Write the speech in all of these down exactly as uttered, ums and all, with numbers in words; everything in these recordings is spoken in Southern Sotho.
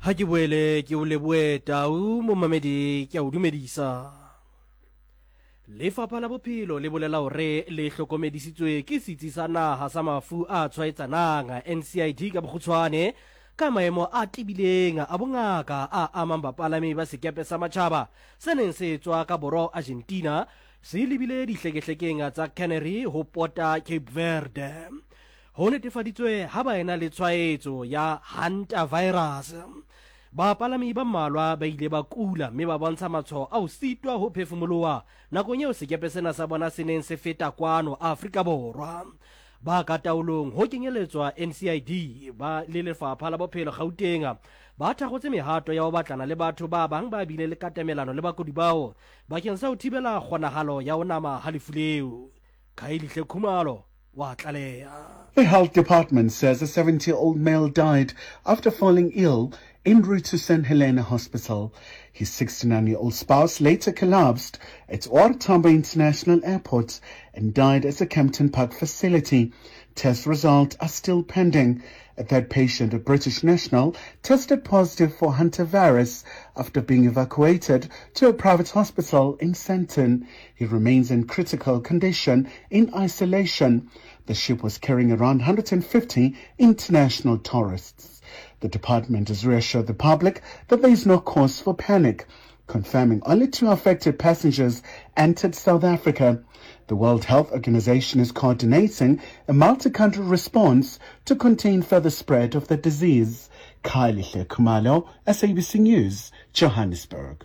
Ha ke boele ke o lebohe Tau momamedi ke a o dumedisa. Lefapha la Bophelo le bolela hore le hlokomedisitswe ke Setsi sa Naha sa Mafu a Tshwaetsanang, N C I D ka bokgutshwane, ka maemo a tebileng a bongaka a amang bapalami ba sekepe sa matjhaba se neng se tswa ka borwa ho Argentina se lebile dihlekehlekeng tsa Canary ho pota Cape Verde. Ho netefaditswe ha ba ena le tshwaetso ya hantavirus. Bapalami ba mmalwa ba ile ba kula mme ba bontsha matshwao a ho sitwa ho phefumoloha nakong eo sekepe sena sa bona se neng se feta kwano Afrika Borwa. Ba ka taolong ho kenyeletswa N C I D ba le Lefapha la Bophelo Gauteng ba thakgotse mehato ya ho batlana le batho ba bang ba bile le katamelano le bakudi bao bakeng sa ho thibela kgonahalo ya ho nama ha lefu leo. Khaelihle Khumalo wa tlaleha. The health department says a seventy-year-old male died after falling ill en route to Saint Helena Hospital. His sixty-nine-year-old spouse later collapsed at O R Tambo International Airport and died at a Kempton Park facility. Test results are still pending. A third patient, a British national, tested positive for hantavirus after being evacuated to a private hospital in Sandton. He remains in critical condition in isolation. The ship was carrying around one hundred fifty international tourists. The department has reassured the public that there is no cause for panic, confirming only two affected passengers entered South Africa. The World Health Organization is coordinating a multi-country response to contain further spread of the disease. Kylie Khumalo, S A B C News, Johannesburg.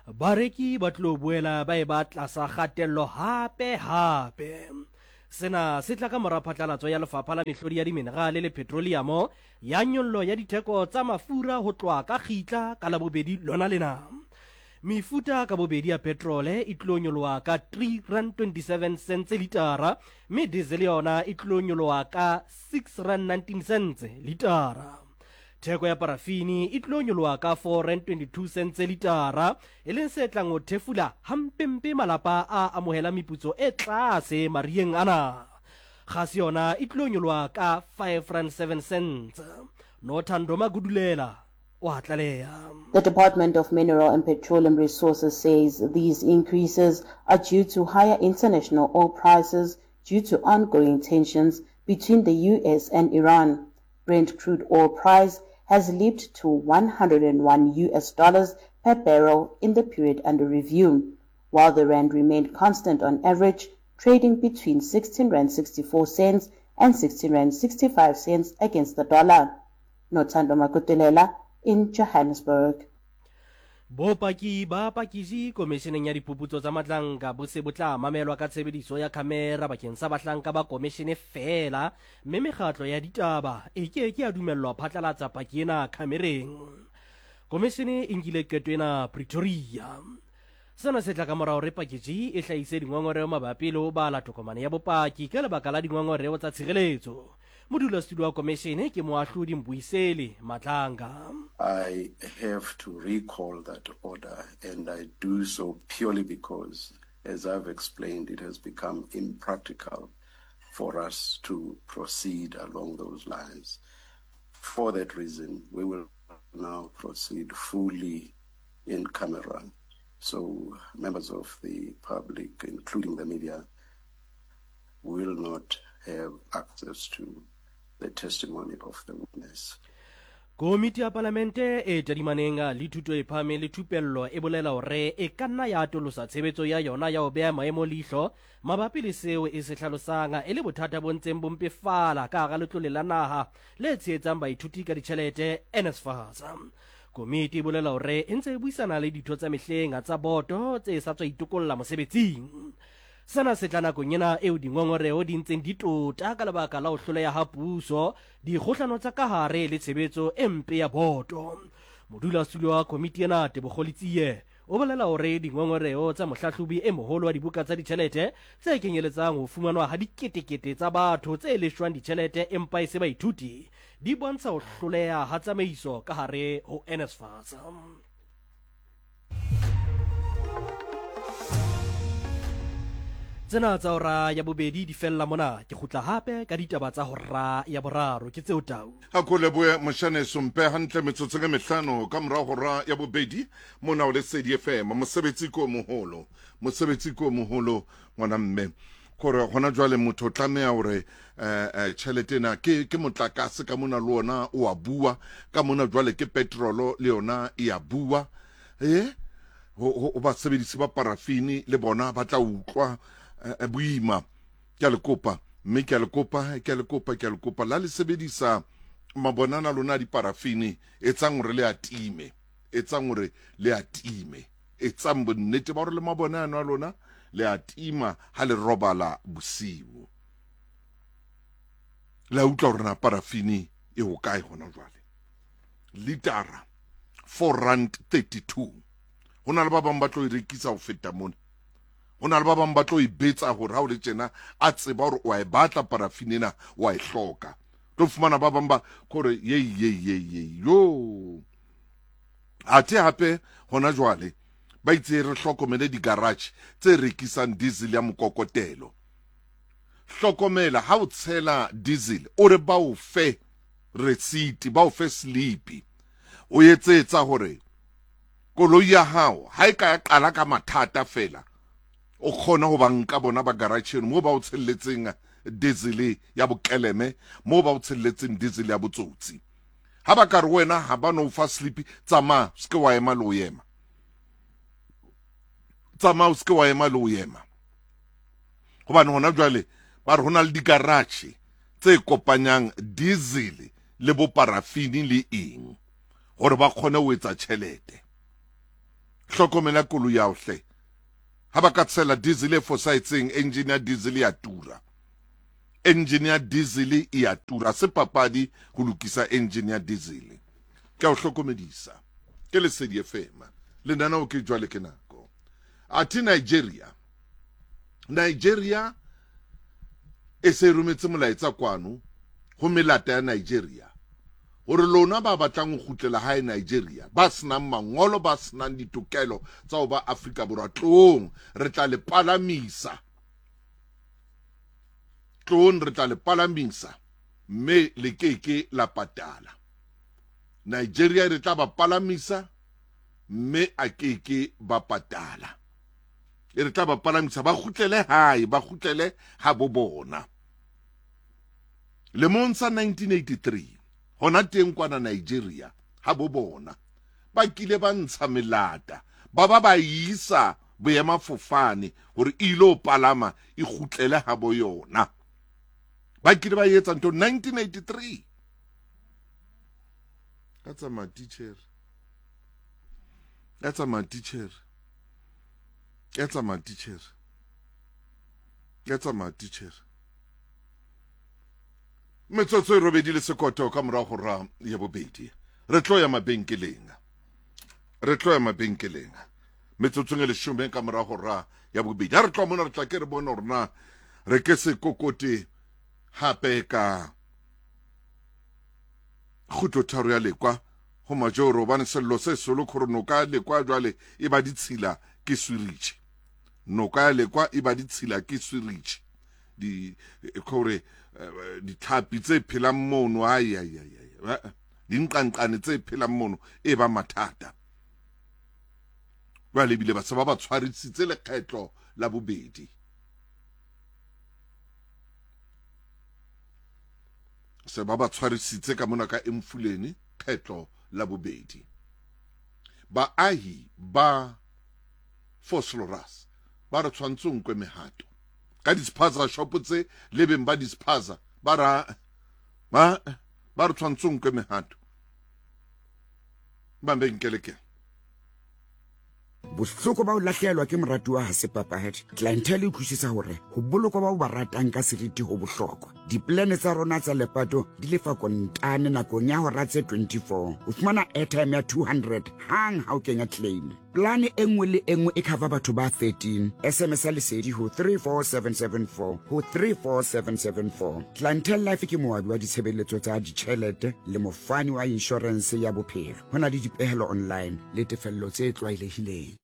Bareki ba tlo boela ba e ba tlasa kgatello hape hape. Sena se tla ka mora phatlalatso ya Lefapha la Mehlodi ya Diminerale le Petroleum ya nyollo ya ditheko tsa mafura ho tloha ka kgitla ka Labobedi lona lena. Mefuta ka bobedi ya petrole e tlo nyoloha ka three rand twenty-seven cents litara, mme diesel yona e tlo nyoloha ka six rand nineteen cents litara. Theko ya parafini e tlo nyoloha ka four rand twenty-two cents litara, e leng se tlang ho thefula hampempe malapa a amohela meputso e tlase mariheng ana. Kgase yona e tlo nyoloha ka five rand seven cents. Nothando Magudulela wa tlaleha. The Department of Mineral and Petroleum Resources says these increases are due to higher international oil prices due to ongoing tensions between the U S and Iran. Brent crude oil price has leaped to one hundred and one U S dollars per barrel in the period under review, while the rand remained constant on average, trading between sixteen rand sixty-four cents and sixteen rand sixty-five cents against the dollar. Nothando Magudulela in Johannesburg. Bopaki ba pakisi komisheneng ya diphuputso tsa Matlanka bo se bo tla mamelwa ka tshebediso ya khamera bakeng sa bahlanka ba komishene feela, mme mekgatlo ya ditaba e ke ke ya dumellwa phatlalatsa paki ena khamereng. Komishene e nkile qeto ena Pretoria. Sena se tla ka mora hore pakiji e hlahise dingongoreo mabapi le ho bala tokomane ya bopaki ka lebaka la dingongoreo tsa tshireletso. Modulasetulo wa komishene ke moahlodi Mbuyiseli Madlanga. I have to recall that order, and I do so purely because, as I've explained, it has become impractical for us to proceed along those lines. For that reason, we will now proceed fully in camera. So members of the public, including the media, will not have access to the testimony of the witness. Komiti ya Palamente e tadimaneng le thuto e phahameng le thupello e bolela hore e ka nna ya atolosa tshebetso ya yona ya ho beha maemo leihlo mabapi le seo e se hlalosang e le bothata bo ntseng bo mpefala ka hara letlole la naha le tshehetsang baithuti ka ditjhelete N S F A S. Komiti e bolela hore e ntse e buisana le ditho tsa mehleng tsa boto tse sa tswa itokolla mosebetsing. Sena se tla nakong ena eo dingongoreo di ntseng di tota ka lebaka la ho hloleha ha puso, dikgohlano tsa ka hare le tshebetso e mpe ya boto. Modulasetulo wa komiti ena Tebogo Letsie o bolela hore dingongoreo tsa mohlahlobi e moholo wa dibuka tsa ditjhelete tse kenyeletsang ho fumanwa ha diketekete tsa batho tse leshwang ditjhelete empa e se baithuti di bontsha ho hloleha ha tsamaiso ka hare ho N S F A S. Tsena tsa hora ya bobedi di fella mona, ke kgutla hape ka ditaba tsa hora ya boraro. Ke tseo tau. A ko lebohe moshane sompe hantle metsotsong e mehlano ka mora hora ya bobedi mona o Lesedi F M. Mosebetsi ko moholo, mosebetsi ko moholo ngwana mme. Kore hona jwale motho o tlameha hore eh tjhelete ena ke ke motlakase ka mona le ona o a bua, ka mona jwale ke petrolo le yona e a bua. Eh ho ho basebedisi ba parafini le bona ba tla utlwa boima. Ke a le kopa, mme ke a le kopa, ke a le kopa, ke a le kopa la le sebedisa mabonana lona di parafini, etsang hore le atime, etsang hore le atime, etsang bonnete ba hore le mabonana a lona le atima ha le robala bosiu. La utlwa hore na parafini e ho kae hona jwale. Litara four rand thirty-two. Ho na le ba bang ba tlo e rekisa ho feta mona. Ho na le ba bang ba tlo e betsa hore ha o le tjena a tseba hore wa e batla parafini ena, wa e hloka. Tlo fumana ba bang ba kore ye ye ye ye yo. Athe hape hona jwale ba itse re hlokomele di-garage tse rekisang diesel ya mokokotelo. Hlokomela ha o tshela diesel, o re ba o fe receipt, ba o fe slip. O etsetsa hore koloi ya hao ha e ka ya qala ka mathata fela, o kgona ho ba nka bona ba garage eno moo ba o tshelletseng diesel ya bokeleme, moo ba o tshelletseng diesel ya botsotsi. Ha ba ka re wena ha ba no fa slip, tsamaya se ke wa ema le o ema. Tsamaya o se ke wa ema le o ema. Hobane hona jwale ba re hona le di-garage tse kopanyang diesel le bo parafini le eng hore ba kgone ho etsa tjhelete. Hlokomela koloi ya hao hle. Ha ba ka tshela diesel e fosahetseng, engine ya diesel ya tura. Engine ya diesel e ya tura. Se papadi ho lokisa engine ya diesel. Ke a o hlokomedisa. Ke Lesedi F M. Lenaneo ke jwale ke nako. Athe Nigeria. Nigeria e se rometse molaetsa kwano ho melata ya Nigeria hore lona ba batlang ho kgutlela hae Nigeria, ba senang mangolo, ba senang ditokelo tsa ho ba Afrika Borwa, tloong re tla le palamisa, tloong re tla le palamisa mme le keke la patala. Nigeria re tla ba palamisa mme a keke ba patala. E re tla ba palamisa ba kgutlele hae, ba kgutlele ha bo bona. Lemong sa nineteen eighty-three hona teng kwana Nigeria ha bo bona ba kile ba ntsha melata, ba ba ba isa boemafofane hore e ilo palama e kgutlele ha bo yona. Ba kile ba etsa ntho nineteen eighty-three. Ka tsamaya teacher, ka tsamaya teacher, ka tsamaya teacher, ka tsamaya teacher. Metsotso e robedi le sekoto ka mora hora ya bobedi. Re tlo ya mabenkeleng. Re tlo ya mabenkeleng. Metsotsong e leshome ka mora hora ya bobedi. Ha re tlo mona re tla ke re bone hore na re ke se kokote hape ka kgutlo tharo ya Lekwa ho Majoro, hobane sello se solo khore noka ya Lekwa jwale e ba ditshila ke swiritjhe. Noka ya Lekwa e ba ditshila ke swiritjhe. Di khore ditlhapi tse phelang mono, ai ai ai ai, dinqanqane tse phelang mono e ba mathata. Jwale ebile ba se ba ba tshwarisitse lekgetlo la bobedi. Se ba ba tshwarisitse ka mona ka Emfuleni kgetlo la bobedi. Baahi ba Vosloorus ba re tshwantse ho nkwe mehato ka di-spaza shop tse le beng ba di-spaza ba ra ba ba re tshwantse ho nkwe mehato. Mabenkele ke Bohloko ba ho lahlehelwa ke moratuwa ha se papadi. Clientele e utlwisisa hore ho bolokwa bao ba ratang ka seriti ho bohlokwa. Diplane tsa rona tsa lepato di lefa kontane nakong ya hora tse twenty-four. O fumana airtime ya two hundred hang ha o kenya claim. Plane e nngwe le e nngwe e cover batho ba thirteen. S M S ya Lesedi ho three four seven seven four ho three four seven seven four. Clientele Life ke moabi wa ditshebeletso tsa ditjhelete le mofani wa insurance ya bophelo. Ho na le dipehelo online le tefello tse tlwaelehileng.